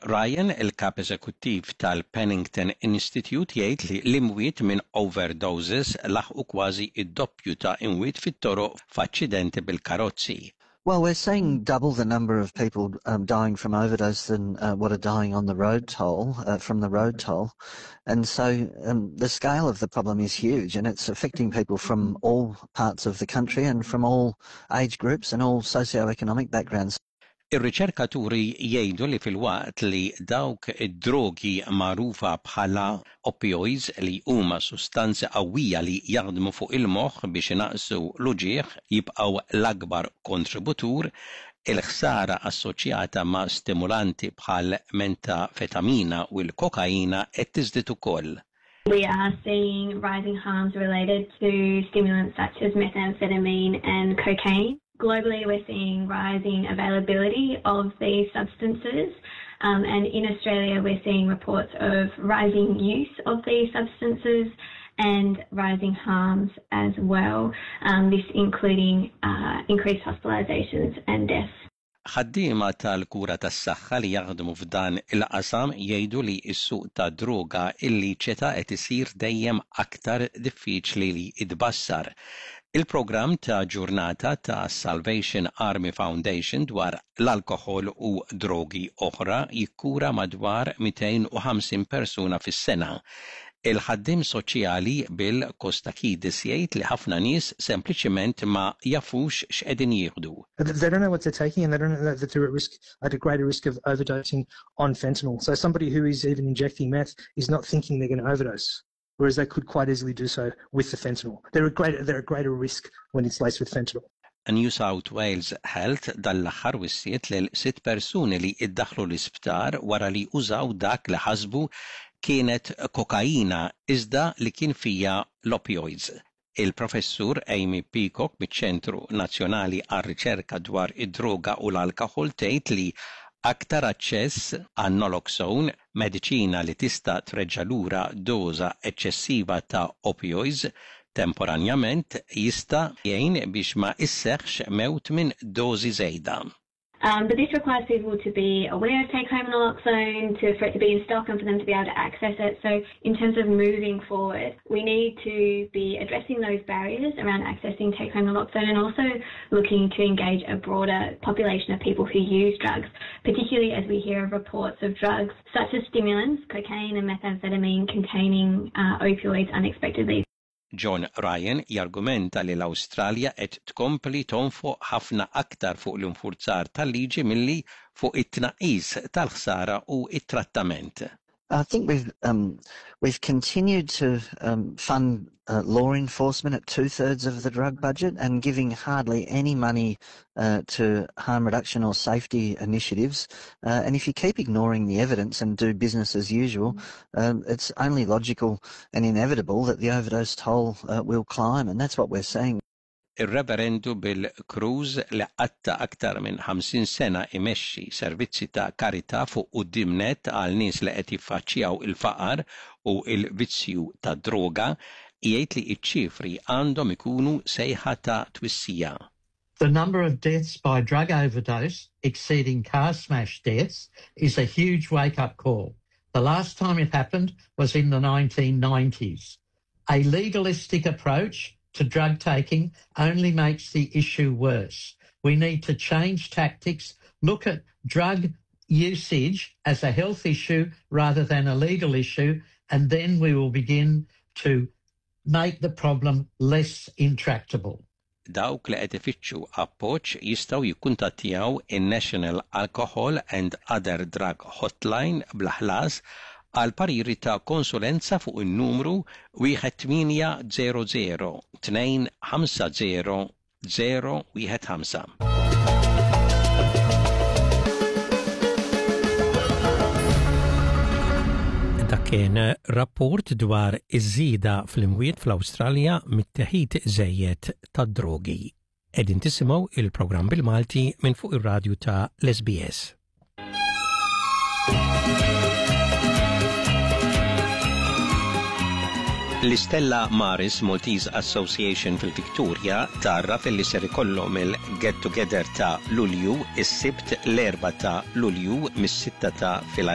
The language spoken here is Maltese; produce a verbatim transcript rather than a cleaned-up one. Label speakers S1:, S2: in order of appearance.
S1: Ryan, il-kap eżekuttiv tal-Pennington Institute, jgħid li l-imwiet minn overdoses laħqu kważi id-doppju ta' imwiet fit-toroq f'aċċidenti bil-karozzi.
S2: Well, we're seeing double the number of people um, dying from overdose than uh, what are dying on the road toll, uh, from the road toll. And so um, the scale of the problem is huge, and it's affecting people from all parts of the country and from all age groups and all socio-economic backgrounds.
S1: Ir-riċerkaturi jgħidu li filwaqt li dawk id-drogi magħrufa bħala opioids, li huma sustanzi qawwija li jaħdmu fuq il-moħħ biex inaqqsu l-uġigħ, jibqgħu l-akbar kontributur, il-ħsara assoċjata ma' stimulanti bħal metamfetamina u l-kokaina qed tiżdied ukoll.
S3: We are seeing rising harms related to stimulants such as methamphetamine and cocaine. Globally, we're seeing rising availability of these substances. Um, and in Australia, we're seeing reports of rising use of these substances and rising harms as well, um, this including uh, increased hospitalisations and deaths.
S1: Ħaddiema tal-kura tas-saħħa li jaħdmu f'dan il-qasam jgħidu li s-suq ta' droga illiċita qed isir dejjem aktar diffiċli li jitbassar. Il-programm ta' ġurnata ta' Salvation Army Foundation dwar l-alkoħol u drogi oħra jikkura madwar mitejn u ħamsin persuna fis-sena. Il-ħaddim soċjali Bill Kostakidis jgħid li ħafna nies sempliċiment ma jafux x'qegħdin jieħdu.
S4: They don't know what they're taking, and they don't know that they're at risk at a greater risk of overdosing on fentanyl. So somebody who is even injecting meth is not thinking they're going to overdose, whereas they could quite easily do so with the fentanyl. They're at greater, they're at greater risk when it's laced with fentanyl.
S1: New South Wales Health dal-aħħar wissiet lil sitt persuni li iddaħlu l-isptar wara li użaw dak li ħasbu kienet kokaina iżda li kien fija l-opioids. Il-professur Amy Peacock miċ-Ċentru Nazzjonali għar-Riċerka dwar id-droga u l-alkoħol tgħid li aktar aċċess għan naloxone, mediċina li tista' treġġa' lura doża eċċessiva ta' opioids temporanjament, jista' jgħin biex ma isseħħx mewt minn dożi żejda.
S3: Um, but this requires people to be aware of take-home naloxone, to, for it to be in stock and for them to be able to access it. So in terms of moving forward, we need to be addressing those barriers around accessing take-home naloxone and also looking to engage a broader population of people who use drugs, particularly as we hear of reports of drugs such as stimulants, cocaine and methamphetamine containing uh, opioids unexpectedly.
S1: John Ryan jargumenta li l-Awstralja qed tkompli tonfoq ħafna aktar fuq l-infurzar tal-liġi milli fuq it-tnaqqis tal-ħsara u it-trattament.
S2: I think we've um, we've continued to um, fund uh, law enforcement at two thirds of the drug budget and giving hardly any money uh, to harm reduction or safety initiatives. Uh, and if you keep ignoring the evidence and do business as usual, um, it's only logical and inevitable that the overdose toll uh, will climb, and that's what we're seeing.
S1: Ir-Reverendu Bill Crews, li qatta aktar minn ħamsin sena imexxi servizzi ta' karità fuq quddiem nett għal nies li qed jiffaċċjaw il-faqar u il-vizzju ta' droga, jgħid li ċ-ċifri għandhom ikunu sejħa ta' twissija.
S5: The number of deaths by drug overdose exceeding car smash deaths is a huge wake-up call. The last time it happened was in the nineteen nineties. A legalistic approach to drug taking only makes the issue worse. We need to change tactics, look at drug usage as a health issue rather than a legal issue, and then we will begin to make the problem less intractable.
S1: Dawk li qed ifittxu appoġġ jistgħu jikkuntattjaw in-National Alcohol and Other Drug Hotline bla ħlas għal pariri ta' konsulenza fuq in-numru wieħed tmienja żero żero tnejn ħamsa żero żero wieħed ħamsa. Dak kien rapport dwar iż-żieda fl-imwiet fl-Awstralja mit-teħid żejjed tad-drogi. Qegħdin tisimgħu il-programm bil-Malti minn fuq ir-radju ta' l-S B S. L-Istella Maris Maltese Association fil-Victoria tgħarraf li ser ikollhom il-Get Together ta' Lulju is-Sibt l-erbgħa ta' Lulju mis-sitta ta'